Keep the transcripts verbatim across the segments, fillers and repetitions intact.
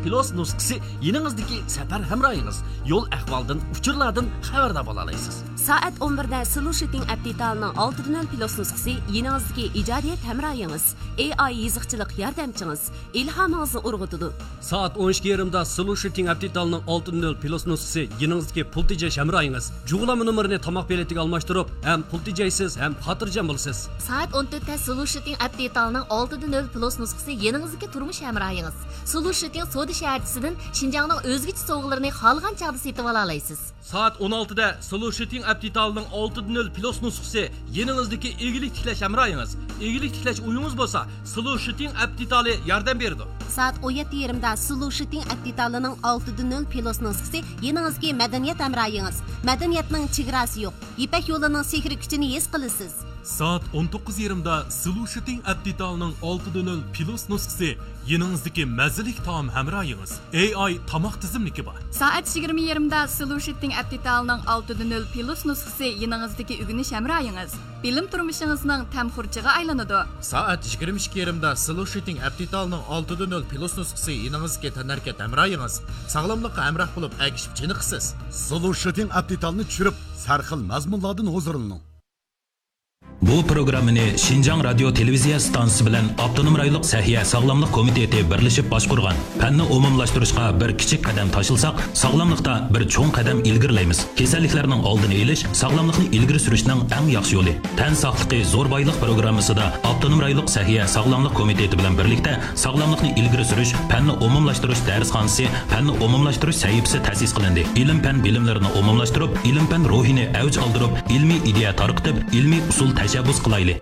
پىلۇس نۇسخىسى يېنىڭىزدىكى سەپەر ھەمراھىڭىز. يول ئەھۋالدىن، ئۇچۇرلاردىن خەۋەردار بولالايسىز. سائەت ئون بىردە سولۇشىتىڭ ئەپ دېتالىنىڭ ئالتە دە نۆل پىلۇس نۇسخىسى يېنىڭىزدىكى ئىجادىيەت ھەمراھىڭىز، ئېي ئاي يېزىقچىلىق ياردەمچىڭىز ئىلھامىڭىزنى ئۇرغۇتىدۇ. سائەت ئون ئىككى يېرىمدا سولۇشىتىڭ ئەپ دېتالىنىڭ ئالتە دە نۆل پىلۇس نۇسخىسى يېنىڭىزدىكى پۇل تېجەش ھەمراھىڭىز. جۇغلانما نومۇرىنى تاماق بېلىتىگە ئالماشتۇرۇپ، ھەم پۇل تېجەيسىز، ھەم خاتىرجەم بولىسىز. سائەت ئون تۆتتە سولۇشىتىڭ ئەپ دېتالىنىڭ ئالتە دە نۆل پىلۇس نۇسخىسى يېنىڭىزدىكى تۇرمۇش ھەمراھىڭىز. سولۇشىتىڭ سودا شەھەرچىسىدىن شىنجاڭنىڭ ئۆزگىچە سوۋغىلىرىنى خالىغان چاغدا سېتىۋالالايسىز. سائەت ئون ئالتىدە سولۇشىتىڭ ئەپ دېتالىنىڭ ئالتە دە نۆل پىلۇس نۇسخىسى يېنىڭىزدىكى ئىگىلىك تىكلەش ھەمراھىڭىز. ئىگىلىك تىكلەش ئويىڭىز بولسا، سولۇشىتىڭ ئەپ دېتالى ياردەم بېرىدۇ. سائەت ئون يەتتە يېرىمدا سولۇشىتىڭ ئەپ دېتالىنىڭ ئالتە دە نۆل پىلۇس نۇسخىسى يېنىڭىزدىكى مەدەنىيەت ھەمراھىڭىز. مەدەنىيەتنىڭ چېگراسى يوق. يىپەك يولىنىڭ سېھرىي كۈچىنى ھېس قىلىسىز. سائەت ئون توققۇز يېرىمدا سولۇشىتىڭ ئەپ دېتالىنىڭ ئالتە دە نۆل پىلۇس نۇسخىسى يېنىڭىزدىكى مەززىلىك تائام ھەمراھىڭىز، ئېي ئاي تاماق تىزىملىكى بار. سائەت يىگىرمە يېرىمدا سولۇشىتىڭ ئەپ دېتالىنىڭ ئالتە دە نۆل پىلۇس نۇسخىسى يېنىڭىزدىكى ئۆگىنىش ھەمراھىڭىز. بىلىم تۇرمۇشىڭىزنىڭ تەم خۇرجىنىغا ئايلىنىدۇ. سائەت يىگىرمە ئىككى يېرىمدا سولۇشىتىڭ ئەپ دېتالىنىڭ ئالتە دە نۆل پىلۇس نۇسخىسى يېنىڭىزدىكى تەنھەرىكەت ھەمراھىڭىز. ساغلاملىققا ھەمراھ بولۇپ ئەگىشىپ چېنىقىسىز. سولۇشىتىڭ ئەپ دېتالنى چۈشۈرۈپ، سەرخىل مەزمۇنلاردىن ھۇزۇرلىنىڭ. بۇ پروگراممىنى شىنجاڭ رادىيو تېلېۋىزىيە ئىستانسىسى بىلەن ئاپتونوم رايونلۇق سەھىيە ساغلاملىق كومىتېتى بىرلىشىپ باشقۇرغان. پەننى ئومۇملاشتۇرۇشقا بىر كىچىك قەدەم تاشلىساق، ساغلاملىقتا بىر چوڭ قەدەم ئىلگىرىلەيمىز. كېسەللىكلەرنىڭ ئالدىنى ئېلىش ساغلاملىقنى ئىلگىرى سۈرۈشنىڭ ئەڭ ياخشى يولى. تەن ساقلىقى زور بايلىق پروگراممىسىدا ئاپتونوم رايونلۇق سەھىيە ساغلاملىق كومىتېتى بىلەن بىرلىكتە ساغلاملىقنى ئىلگىرى سۈرۈش پەننى ئومۇملاشتۇرۇش دەرسخانىسى، پەننى ئومۇملاشتۇرۇش سەھىپىسى تەسىس قىلىندى. ئىلىم-پەن بىلىملىرىنى ئومۇملاشتۇرۇپ، ئىلىم-پەن روھىنى ئەۋج ئالدۇرۇپ، ئىلمىي ئىدىيە تارقىتىپ، ئىلمىي ئۇسۇل تەشەببۇس قىلايلى.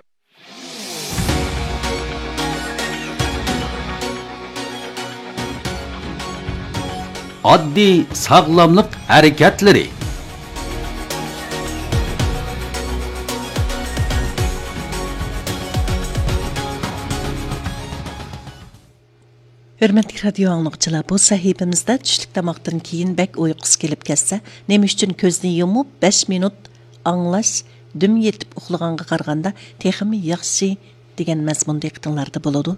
ئاددىي ساغلاملىق ھەرىكەتلىرى. ھۆرمەتلىك رادىيو ئاڭلىغۇچىلار، بۇ سەھىپىمىزدە چۈشلۈك تاماقتىن كېيىن بەك ئۇيقۇسى كېلىپ كەتسە، نېمە ئۈچۈن كۆزنى يۇمۇپ بەش مىنۇت ئاڭلاش، دۈم يېتىپ ئۇخلىغانغا قارىغاندا تېخىمۇ ياخشى دېگەن مەزمۇن دىققىتىڭلاردا بولىدۇ.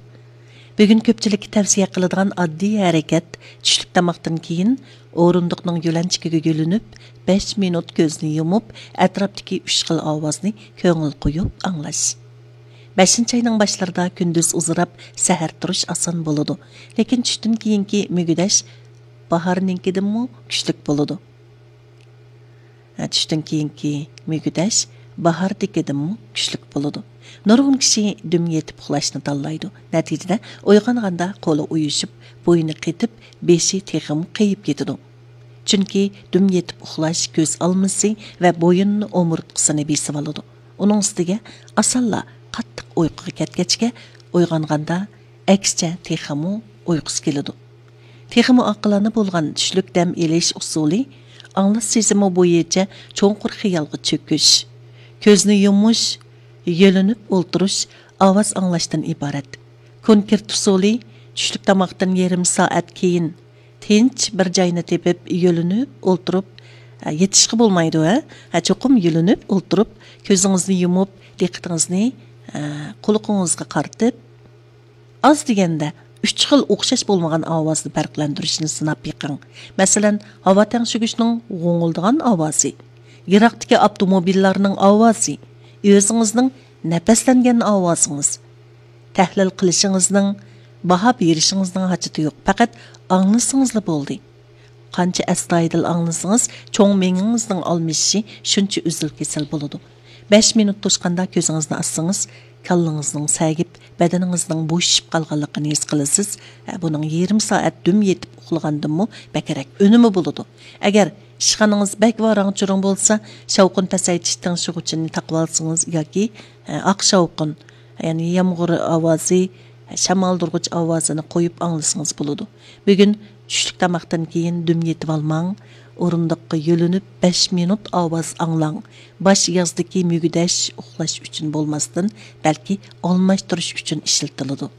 بۈگۈن كۆپچىلىككە تەۋسىيە قىلىدىغان ئاددىي ھەرىكەت، چۈشلۈك تاماقتىن كېيىن ئورۇندۇقنىڭ يۆلەنچۈكىگە يۆلىنىپ، بەش مىنۇت كۆزنى يۇمۇپ، ئەتراپتىكى ئۈچ خىل ئاۋازنى كۆڭۈل قويۇپ ئاڭلاش. بەشىنچى ئاينىڭ باشلىرىدا كۈندۈز ئۇزىراپ، سەھەر تۇرۇش ئاسان بولىدۇ. لېكىن چۈشتىن كېيىنكى مۈگدەش باھارنىڭكىدىنمۇ كۈچلۈك بولىدۇ. ھە، چۈشتىن كېيىنكى مۈگدەش باھاردىكىدىنمۇ كۈچلۈك بولىدۇ. نۇرغۇن كىشى دۈم يېتىپ ئۇخلاشنى تاللايدۇ. نەتىجىدە ئويغانغاندا قولى ئۇيۇشۇپ، بوينى قېتىپ، بېشى تېخىمۇ قېيىپ كېتىدۇ. چۈنكى دۈم يېتىپ ئۇخلاش كۆز ئالمىسى ۋە بويۇننى ئومۇرتقىسىنى بېسىۋالىدۇ. ئۇنىڭ ئۈستىگە ئاسانلا قاتتىق ئۇيقۇغا كەتكەچكە، ئويغانغاندا ئەكسىچە تېخىمۇ ئۇيقۇسى كېلىدۇ. تېخىمۇ ئاقىلانە بولغان چۈشلۈك دەم ئېلىش ئۇسۇلى، ئاڭلاش سېزىمى بويىچە چوڭقۇر خىيالغا چۆكۈش، كۆزنى يۇمۇش، يۆلىنىپ ئولتۇرۇش، ئاۋاز ئاڭلاشتىن ئىبارەت. كونكرېت ئۇسۇلى، چۈشلۈك تاماقتىن يېرىم سائەت كېيىن تىنچ بىر جاينى تېپىپ، يۆلىنىپ ئولتۇرۇپ، ھە، يېتىشقا بولمايدۇ، ھە؟ ھە، چوقۇم يۆلىنىپ ئولتۇرۇپ، كۆزىڭىزنى يۇمۇپ، دىققىتىڭىزنى، ھە، قۇلىقىڭىزغا قارىتىپ، ئاز دېگەندە ئۈچ خىل ئوخشاش بولمىغان ئاۋازنى پەرقلەندۈرۈشنى سىناپ بېقىڭ. مەسىلەن، ھاۋا تەڭشىگۈچنىڭ غوڭۇلدىغان ئاۋازى، يىراقتىكى ئاپتوموبىللارنىڭ ئاۋازى، ئۆزىڭىزنىڭ نەپەسلەنگەن ئاۋازىڭىز. تەھلىل قىلىشىڭىزنىڭ، باھا بېرىشىڭىزنىڭ ھاجىتى يوق، پەقەت ئاڭلىسىڭىزلا بولدى. قانچە ئەستايىدىل ئاڭلىسىڭىز، چوڭ مېڭىڭىزنىڭ ئالمىشىشى شۇنچە ئۈزۈل-كېسىل بولىدۇ. بەش مىنۇت توشقاندا كۆزىڭىزنى ئاچسىڭىز، كاللىڭىزنىڭ سەگىپ، بەدىنىڭىزنىڭ بوشىشىپ قالغانلىقىنى ھېس قىلىسىز. ھە، بۇنىڭ يېرىم سائەت دۈم يېتىپ ئۇخلىغاندىنمۇ بەكرەك ئۈنۈمى بولىدۇ. ئەگەر ئىشخانىڭىز بەك ۋاراڭ-چۇرۇڭ بولسا، شاۋقۇن پەسەيتىش تىڭشىغۇچىنى تاقىۋالسىڭىز ياكى، ھە، ئاق شاۋقۇن، يەنى يامغۇر ئاۋازى، شامالدۇرغۇچ ئاۋازىنى قويۇپ ئاڭلىسىڭىز بولىدۇ. بۈگۈن چۈشلۈك تاماقتىن كېيىن دۈم يېتىۋالماڭ، ئورۇندۇققا يۆلىنىپ بەش مىنۇت ئاۋاز ئاڭلاڭ. باش يازدىكى مۈگدەش ئۇخلاش ئۈچۈن بولماستىن، بەلكى ئالماشتۇرۇش ئۈچۈن ئىشلىتىلىدۇ.